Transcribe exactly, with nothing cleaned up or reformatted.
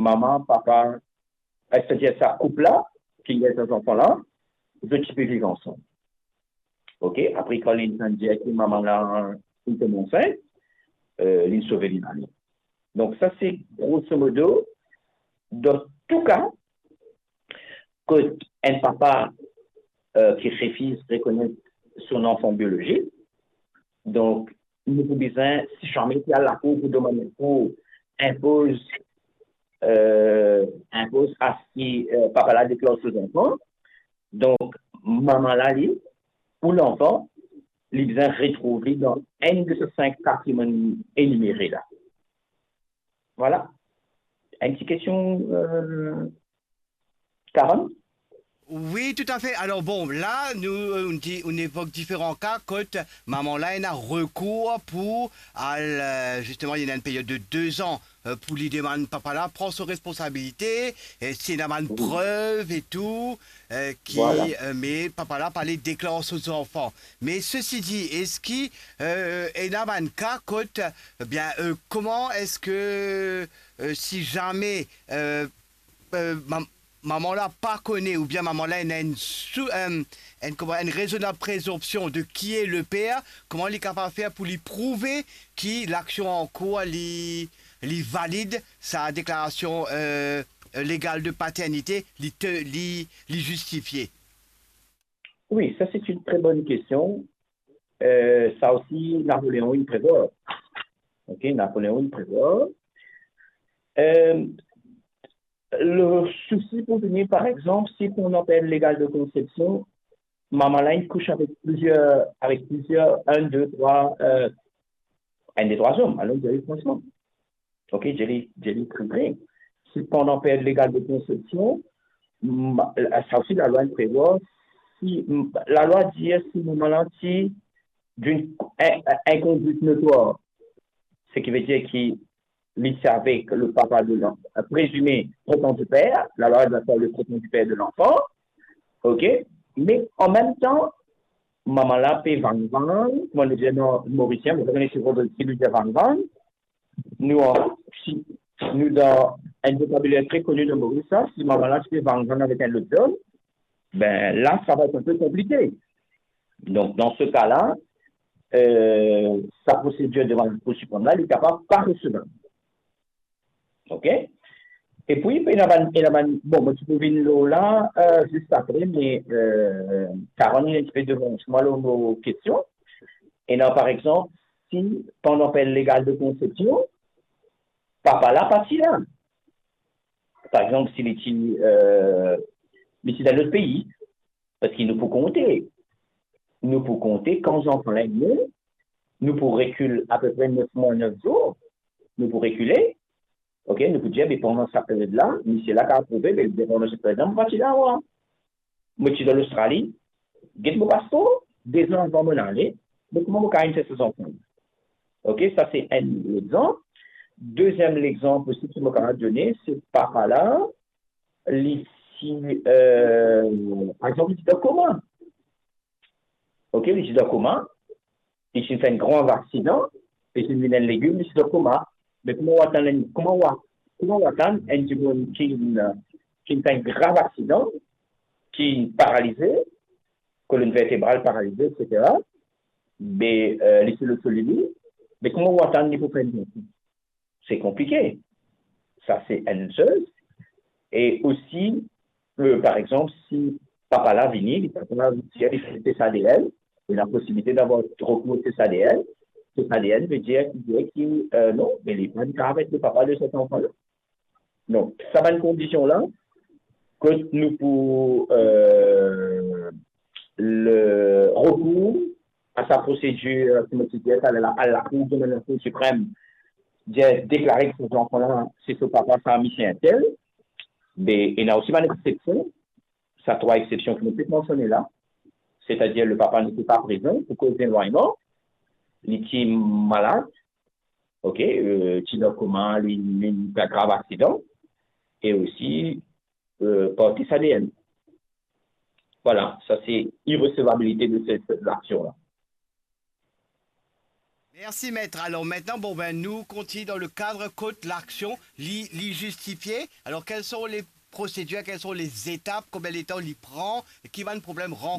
mama, papa, eh, setadir sa koup la, ki gagn sa zanfan la, zot ti pe viv ansam. Ok, apre kan li finn dir ki mama la finn tom ansint, eh, li sove li lavi. Donk sa se grosso modo, dan tou ka, kot enn papa, eh, ki refiz rekonet son zanfan biolozik, donk nou pou bizin, si zame ti al lakour pou demann lakour, inpoz, eh, inpoz a si, eh, papa la deklar so zanfan, donk mama la li, ou lanfan, li bizin retrouv li dan enn de sa sink patrimwann enimere la. Vwala. Enn ti kestion, eh, Karen? Wi, toutafe. Alor bon, la, nou, eh, nou di, nou evok diferan ka kot mama la ena rekour pou al, eh, zisteman, li ena enn period de de zan, eh, pou li demann papa la pran so responsabilite, eh, si ena bann prev e tou, eh, ki, eh, me papa la pa le deklar so zanfan. Me sesi di, eski, eh, ena bann ka kot, eh, bien, eh, koman eski, eh, si zame, eh, eh, mam-, mama la pa kone oubien mama la ena enn sou, enn, enn, kouma, enn rezonab prezonpsion de qui est le père, kouma li kapav fer pou li prouve ki laksion an kour li, li valid, sa deklarasion, eh, legal de paternite, li te, li, li zistifie? Wi, sa se enn tre bonn kestion. Eh, sa osi, Napoleon inn prevwar. Ok, Napoleon inn prevwar. Eh, le sousi pou vini, par exanp, si pandan period legal de konsepsion, mama la inn kouch avek plizier, avek plizier, enn, de, trwa, eh, enn, de, trwa zom, alon, dir li fransman. Ok, dir li, dir li tre tre. Si pandan period legal de konsepsion, ma-, sa osi lalwa inn prevwar, si, m-, lalwa dir si mama la ti dan enn, enn, enn kondwit notwar, seki ve dir ki li ti avek le papa de l'enfant, prezime prétendu père, lalwa dir le prétendu père de l'enfant, ok, me an mem tan, mama la pe vangvang, kouma nou dir dan Morisien, mo pa kone si zot, si nou dir vangvang, nou an, si nou dan enn vokabiler tre koni dan Moris la, si mama la ti pe vangvang avek enn lot zom, ben la, sa va et enn pe konplike. Donk, dan se ka la, eh, sa prosedir devan Lakour Siprem la, li kapav pa resevab. Ok? Epi, ena bann, ena bann, bon, mo ti pou vinn lor la, eh, zis apre, me, eh, Karen, li enn tipe devans mwa lor mo kestion. Ena, par exanp, si pandan period legal de konsepsion, papa la pa ti la. Par exanp, si li ti, eh, li ti dan lot pei, parski nou pou konte. Nou pou konte kan zanfan la inn ne, nou pou rekil apepre nef mwa, nef zour, nou pou rekile, ok, nou pou dir, be pandan sa period la, misie la kapav prouve, be pandan sa period la, mo pa ti la, mwa. Mo ti dan Lostrali, get mo paspor, de zan avan mo ale, me kouma mo kapav inn fer sa zanfan? Ok, sa se enn lexanp. Deziem lexanp osi ki mo kapav done, se papa la, li ti, eh, par exanp, li ti dan koma. Ok, li ti dan koma, li ti fer enn grav aksidan, li ti vinn enn legim, li ti dan koma. Me kouma ou atann enn, kouma ou a-, kouma ou atann enn dimoun ki, ki fer enn grav aksidan, ki paralize, kolonn vertebral paralize, etsetera, be, eh, li ti lot so lili, me kouma ou atann li pou fer enn zanfan? Se konplike. Sa se enn soz. E osi, eh, par exanp, si papa la vini, li papa la vini, li fer tes ADN, li ena posibilite d'avoir rekour tes ADN, tes ADN ve dir ki, ki, eh, non, me li pa kapav et le papa de set zanfan la. Donk, sa bann kondision la, kot nou pou, eh, le rekour a sa prosedir, ki mo ti dir taler la, a Lakour, devan Lakour Siprem, dir, deklare ki sa zanfan la, se so papa, sa misie entel, be, ena osi bann exsepsion, sa trwa exsepsion ki nou pe mansione la, setadir le papa n'était pas présent pour cause d'éloignement, li ti malad, ok, eh, ti dan koma, li, li, li grav aksidan, e osi, eh, par tes ADN. Vwala, sa se iresevabilite de set, set laksion la. Mersi met. Alor, aster, bon, ben, nou kontign dan le kad kot laksion li, li zistifie. Alor, kel son le prosedir, kel son le zetap, konbien letan li pran, ki bann problem rankontre?